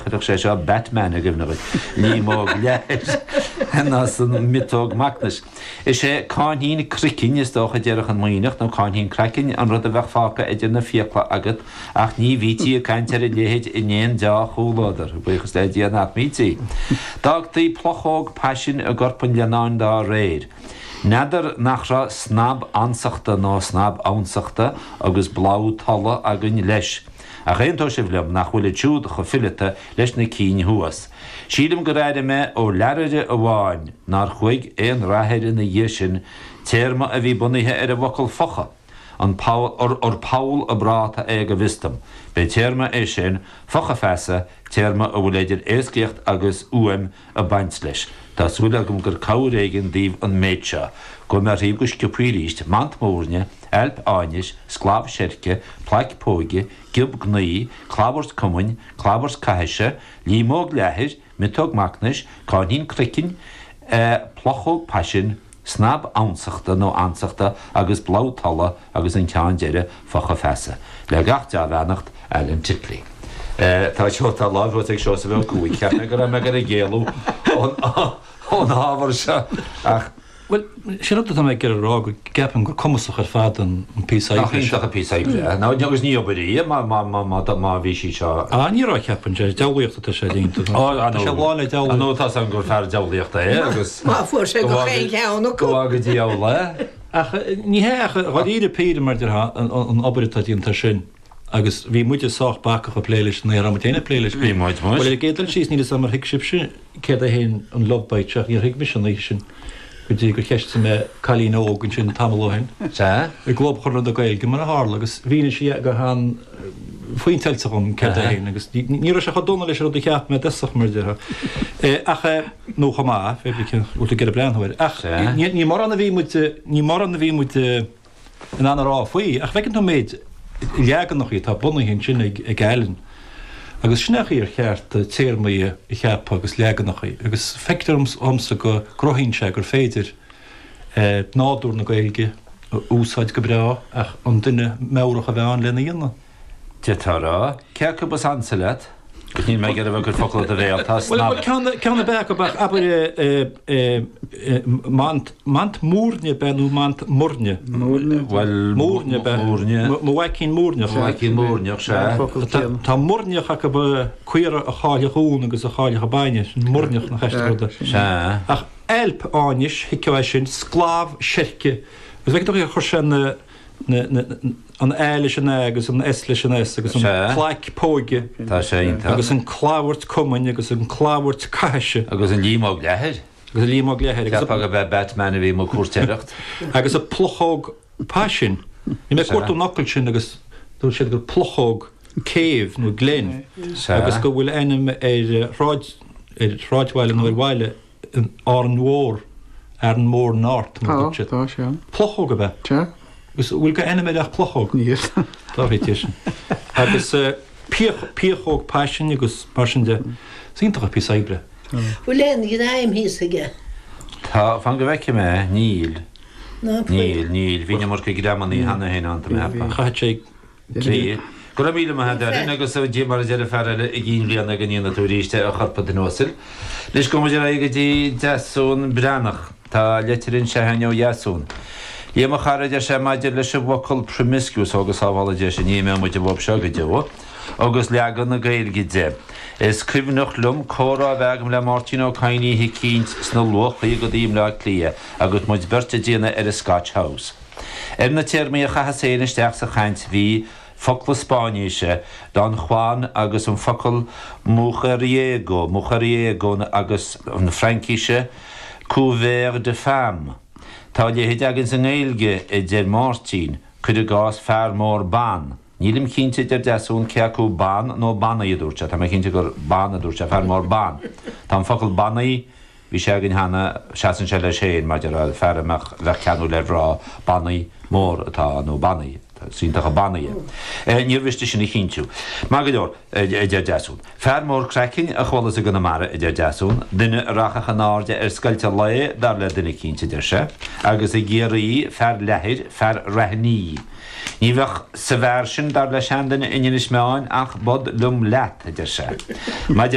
Chuirfeadh sé seo Batman i gcuimhne dhuit. Líomóg leathair ná san miotóg macnais. Is é cáithnín croicinn, is dócha, a déarfadh an Muimhneach, nó cáithnín craicinn, an rud a bheadh fágtha idir na fiacla agat, ach ní bhítí ag caint ar a leithéid in aon deá-chomhluadar, buíochas le Dia nach mbítí. D'fhágtaí pluchóg paisin i gcorp an leannáin dá réir. N'fheadar nach raibh snab ansachta nó snab ansachta agus blogh tola againn leis. Ach aontóidh sibh liom nach bhfuilid siúd chomh fileata leis na cinn thuas. Sílim gur airigh mé ó learaire amháin, nár chuaigh aon rath air ina dhiaidh sin, téarma a bhí bunaithe ar an bhfocal focha, an poll, ur poll a' bpráta é go bhfios dom. B'é téarma é sin, focha feasa, téarma a bhfuil idir éascaíocht agus fhuaim ag baint leis. Tá súil agam gur cabhair éigin daoibh an méid seo. Gabhfaidh mé thríob go sciobthaí arís, mant móirne, ailp áinis, sclamh seirce, plaic póige, giob gnaoi, clabhairt cumainn, clabhairt caithise, líomóg leathair, miotóg macnais, cáithnín croicinn, pluchóg paisin, snab ansachta nó ansachta agus blogh tola agus an ceann deiridh, focha feasa. Le gach dea-bheannacht, Alan Titley. Tá tá lámh thuas ag Seosamh Ó Cuaig. Cheap mé go raibh mé ag iarraidh éalú ón ábhar seo ach. Bhuel, sin rud atá mé ag iarraidh a rá, go gceapaim gur cumasach ar fad an píosa oibre seo. Nach iontach an píosa oibre é. Nó agus ní obair í má bhí sí seo. Ah, ní raibh, cheapfainn, sé deabhlaíocht atá sé déanta. Tá sé lán le deabhlaíocht. Nó tá 's agam gur fear deabhlaíochta é agus. Má fuair sé gach aon cheann acu. Go bhfága diabhal é. Ach ní hea ach dháiríre píre mar déarfá an obair atá déanta sin. Agus bhí muide sách bacach ag plé leis, ní raibh muid féin ag plé leis. Bhí muid, muis. Bhuel, ar an gcéad dul síos, níl 'fhios a'm ar thuig sibhse céard é féin an love bite seo, ach níor thuig mise an oíche sin go dtí gur cheistigh mé cailín óg ansin tamall ó shin. Sea. I gClub Chonradh na Gaeilge, mar a tharla, agus mhínigh sí go han-phointeáilte dhom céard é féin agus ní raibh sé chomh dona leis an rud a cheap mé i dtosach, mar a déarfá. Ach, nó chomh maith, pé brí cén bhfuil tú ag iarraidh breathnú air. Ach ní mórán a bhí muid, ní mórán a bhí muid, in ann a rá faoi, ach feiceann tú an méid leaganachaí atá bunaithe ansin ag Alan, agus sin é an chaoi ar cheart téarmaí a cheapadh agus leaganachaí, agus feictear dhomsa go gcruthaíonn sé gur féidir nádúr na Gaeilge a úsáid go breá ach an duine meabhrach a bheith ann lena dhéanamh. D'fhéadfá a rá, cé acu is ansa leat? Agus níl mé ag iarraidh a bheith ag cur focal i do bhéal, tá snab. Bhuel, ceann, ceann ar bith acu, ach abair mant, mant múirne ab ea nó mant muirne? Múirne. Bhuel, Múirne ab ea. Múirne. Mo mhaicín múirneach. Mo mhaicín múirneach, sea. Tá, tá muirneach acu caora a chaillfeadh uan agus a chaillfeadh bainne, sin muirneach nach aisteach rud é. Sea. Ach ailp áinis, thuigfeá é sin, sclamh seirce, agus bheadh tú ag cur sé na, an A leis an A agus an S leis an S agus an plaic póige Tá sé iontach. agus an clabhairt cumainn agus an clabhairt caithise. Agus an líomóg leathair. Agus an líomóg leathair. Cheapfá gurb é Batman a bhí amuigh ag cúirtéireacht. Agus an pluchóg paisin. Bhí mé ag cuartú an fhocail sin agus dúirt siad gur pluchóg cave nó glen agus go bhfuil ainm ar shráid, ar shráidbhaile nó ar bhaile in Árainn Mhór, Arranmore North, mar a dúirt siad. Tá, tá sé ann. Pluchóg ab ea? Sea. Agus an bhfuil go ainm air ach Pluchóg? Níl. Tá rite sin. Agus piach, piachóg paisin agus mar sin de. Is iontach an píosa oibre. Bhfuil aon ghreim thíos aige? Tá, fan go bhfeicfidh mé, níl. Ná Níl, níl, bhí an iomarca greamannaí cheana féin ann, tá mé a cheapadh. Chaithfeadh sé Bhí. Go raibh míle maith a't Alan agus mar a deir an fear eile i gCinn Bhliana go ndéana tú arís é a chorp an duine uasail. Anois gabhfaidh muid ar aghaidh go dtí Deasún Breathnach. Tá leitir anseo againn ó Dheasún. Liam a chara a deir sé maidir leis an bhfocal promiscuous ó go sábhála Dia sinn ní imeoidh muid an bhob seo go deo agus leagan na Gaeilge de. Is cuimhneach liom comhrá a bheith agam le Máirtín Ó Cadhain oíche eicínt sna luathchaogaidí i mBleá Cliath agus muid beirt ag déanamh ar an Scotch House. Ar na téarmaí a chaitheas féin isteach sa chaint bhí focla Spáinníse, Don Juan agus an focal mujeriego, mujeriego agus na Fraincíse couvert de femme. Tá a leithéid againn sa nGaeilge, a deir Máirtín, cuir i gcás fear mór ban. Nílim cinnte, a deir Deasún, cé acu ban nó bannaí a dúirt sé. Tá mé cinnte gur ban a dúirt sé, fear mór ban. Tá an focal bannaí Bhí sé againn cheana, seasann sé leis féin, mar déarfá, fear a mbeadh, bheadh ceanúil ar mhná, bannaí mór atá ann, nó bannaí, is iontach an bannaí é. Níor mhiste sin a chinntiú. Maith go leor, a deir Deasún. Fear mór craicinn a chualas i gConamara, a deir Deasún, duine a rachadh in airde ar scoilt an lae, dar le duine eicínt, a deir sé, agus i gCiarraí, fear leathair, fear raithní. Ní bheadh sa bhfear sin, dar le seanduine in Inis Meáin, ach bod liom leat, a deir sé. Maidir.